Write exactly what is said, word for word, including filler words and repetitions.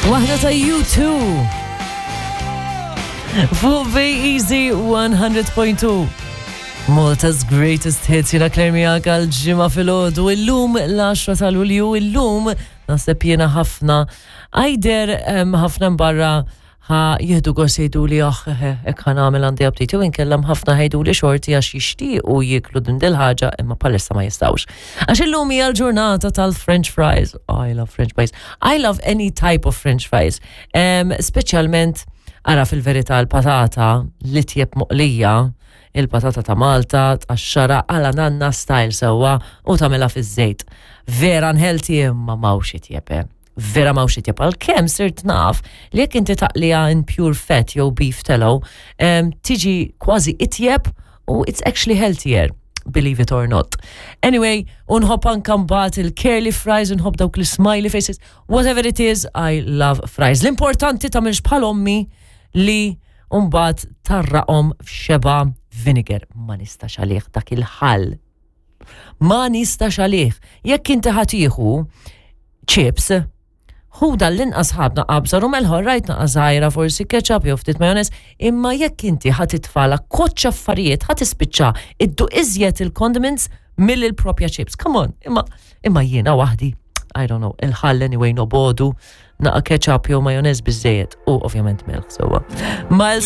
Waħda ta' U two. Fuq Easy one hundred point two. Malta's greatest hits, jiena Claire miegħek għal-Ġimgħa filgħodu. Illum l-għaxra ta' Lulju, illum naħseb jiena ħafna. Għajder ħafna barra ħa jieħdu gost jgħidu li aħ, hekk ħa nagħmel, għandi aptit, jew inkella ħafna ħa jgħidu li xorti għax jixtiequ jieklu din dil-ħaġa imma palissa ma jistgħux. Għax illum hija l-ġurnata tal-French fries. Oh, I love French fries. I love any type of French fries. Um, Speċjalment, ara, fil-verità l-patata li tjeb moqlija, il-patata ta' Malta, tqaxxarha għala nanna style sewwa u tagħmilha fiż-żejt. Vera unhealthy, imma m'hawnx itjeb, eh. Vera m'hawnx itjeb, għalkemm sirt naf li jekk inti taqliha in pure fat jew beef tallow, um, tiġi kważi itjeb u it's actually healthier, believe it or not. Anyway, unħobb anka mbagħad il-curly fries, unħobb dawk l-smiley faces, whatever it is, I love fries. L-importanti tagħmilx bħal ommi li mbagħad tgħarraqhom f'xebgħa vinegar. Ma nistax għalih dak il-ħall. Ma nistax għalih. Jekk inti ħa tieħu chips, ħu dal-inqas ħabna qabża rumel rajt naqra żgħira, forsi ketchup jew ftit majonez, imma jekk inti ħa titfagħlha koċċa affarijiet, ħa tispiċċa idduq iżjed il-condiments mill il-propja chips. Come on, imma imma jiena waħdi, I don't know, il-ħall anyway nobogħdu, naqa ketchup jew majonez biżejjed u ovvjament melħ sewwa. Miles